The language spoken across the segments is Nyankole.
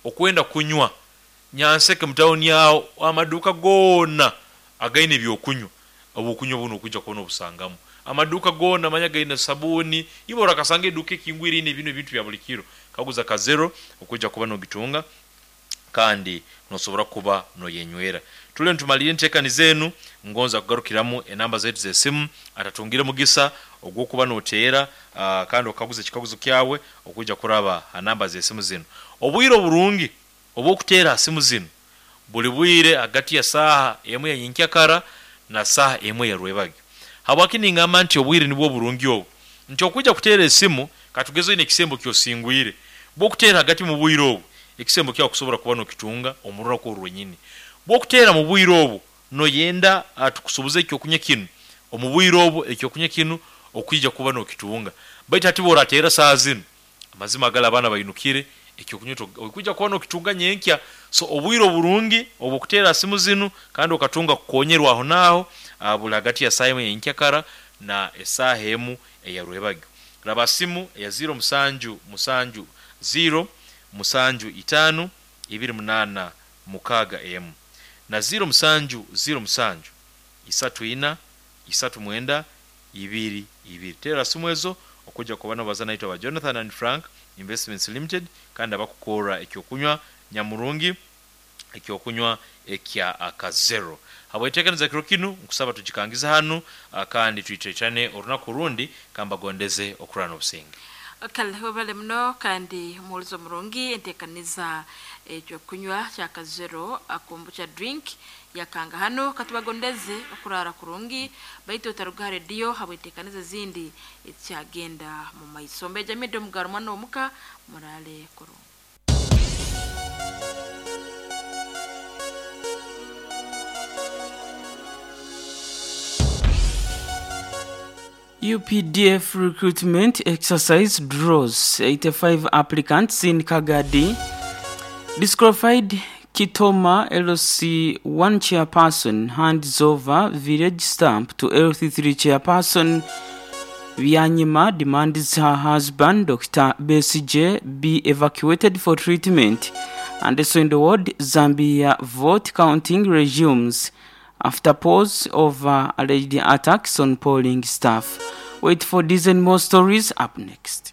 Okwenda kunywa Nyanseke mu tawuni agho amaduuka goona againe eby'okunywa, obw'okunywa bunu okwija kuba n'obusangamu. Amaduuka goona manya gaine sabuuni, iwe orakasanga eduuka ekingwire einho ebinu ebintu bya buli kiro. Kaguza Kazero okwija kuba n'ogitunga kandi n'osobora kuba n'oyenywera. Tule nitumalirra enteekaniza enu, ngonza kugarukiramu enamba zaitu z'esimu atatungire mugisa ogw'okuba n'oteera kandi okaguza ekikaguzo kyawe okwija kuraba ha namba z'esimu zinu. Obwire oburungi obw'okuteera ha simu zinu buli bwire hagati ya saaha emu ya nyenkyakara na saaha emu eya rwebagyo. Habwaki ningamba nti obwire nibwo oburungi obu? Nti okwija kuteera esimu, katugeze oine ekisembo ky'osingwire, bw'okuteera hagati mu bwire obu, ekisembo kyawe kusobora kuba n'okitunga omu runaku oru rwenyini. Bw'okuteera mu bwire obu, noyenda tukusubuze eky'okunywa kinu omu bwire obu, eky'okunywa kinu okwija kuba n'okitunga. Baitu hati bw'orateera saaha zinu, Amazima agali abaana bainukire ekyokunywa oikwija kuba nokitunga nyenkya. So obwire oburungi obwokuteera ha simu zinu kandi okatunga kukonyerwa aho naaho buli hagati ya saaha emu eya nyenkyakara na esaaha emu eya rwebagyo. Raba ha simu eya ziiro musanju musanju ziiro musanju itaano ibiri munaana mukaaga emu na ziiro musanju ziiro musanju isatu ina isatu mwenda ibiri ibiri. Teera simu ezo okwija kuba nobaza naitwe aba Jonathan and Frank Investments Limited kandi abakukorra ekyokunywa nyamurungi, ekyokunywa ekya Akazero. Habw'enteekaniza kiro kinu nkusaba tugikangize hanu kandi twitaitane orunaku orundi kambagondeze okurara n'obusinge. Kale webale muno kandi omuhulizi omurungi entekaniza ekyokunywa kya Kazero Kombucha Drink Yakanga hanu katubagondeze okurara kurungi baitu otaruga ha rediyo habw'entekaniza ezindi ezikyagenda mu maiso. Mbeja Mida Omugaru mwana w'omuka muraale kurungi. UPDF recruitment exercise draws 85 applicants in Kagadi. Disqualified Kitoma LC1 chairperson hands over village stamp to LC3 chairperson. Byanyima demands her husband Dokita Besigye be evacuated for treatment. And also in the world, Zambia vote counting resumes after pause over alleged attacks on polling staff. Wait for these and more stories up next.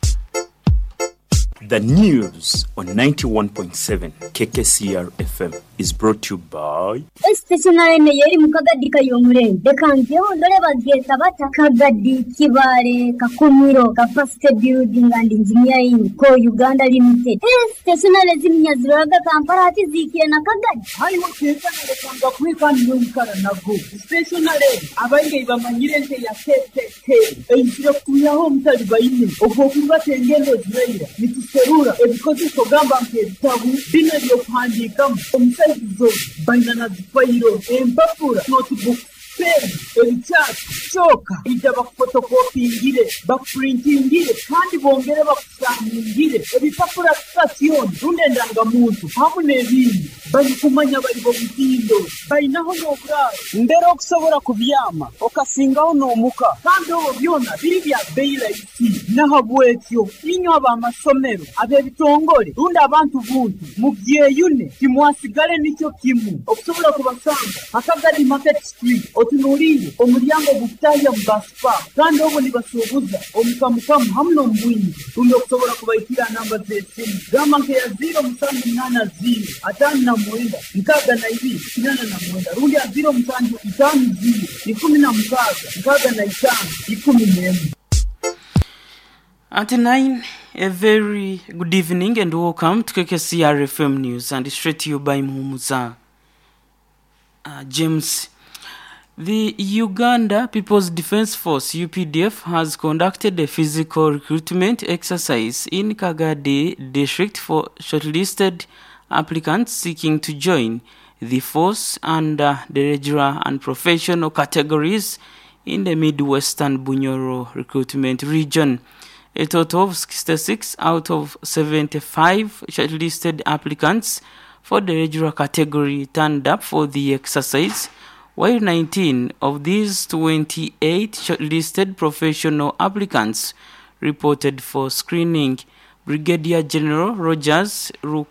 The news on 91.7 KKCR FM is brought to you by. Esiteesonale eno y'eri mu Kagadi Kayomurembe. Leka njeho ndole bagyeta bata, Kagadi, Kibaale, Kakumiro, Capacity Building and Engineering Co. Uganda Limited. Eeh siteesonale ziminya ziroraga Kampala hati zihikire na Kagadi? Aye wateeka nalekanga kweka niiwe oikara nago. Siteeshonale egi abaingi ei bamanyire nk'eya KKK eizire kutwihaho omutalibaine ogw'okurubata engendo eziraira nituserura ebikozeso gamba nk'ebitabu, binu eby'okuhandiikamu omu saizi zoona baina na zifayiro, empapura, notebooks, peeni, ebikyasi, kyoka ija bakufotokopingire, bakupurintingire kandi bongere bakusaaningire ebipapura sitasyoni rundi endangamuntu hamu n'ebindi. Barikumanya bari b'omutindo, bainaho n'oburaaro mbere okusobora kubyama okasingaho n'omuka kandi obwo byona biri bya bbeyi raisi. Nahabwekyo inywe ab'amasomero, ab'ebitongore rundi abantu buntu mubyeyune timwasigale nikyo kimu. Okusobora kubasanga ha Kagadi Market Street otunuliire omulyango ogukutahya omu Bus Park kandi obwo nibasuubuza omu kamukamu hamu n'omu bwingi rundi okusobora kubaikira aha namba z'esimu gamba nk'eya ziiro musanju munaana ziiro ataano na mwenda nkaaga na ibiri kinaana na mwenda rundi aha ziiro musanju itaano ziiro ikumi na mukaaga nkaaga na itaano ikumi n'emwe. At 9, a very good evening and welcome to KKCR FM News and straight to you by Muhumuza uh, James. The Uganda People's Defense Force UPDF has conducted a physical recruitment exercise in Kagadi district for shortlisted applicants seeking to join the force under the regular and professional categories in the Midwestern Bunyoro recruitment region. A total of 66 out of 75 shortlisted applicants for the regular category turned up for the exercise, while 19 of these 28 shortlisted professional applicants reported for screening. Brigadier General Rogers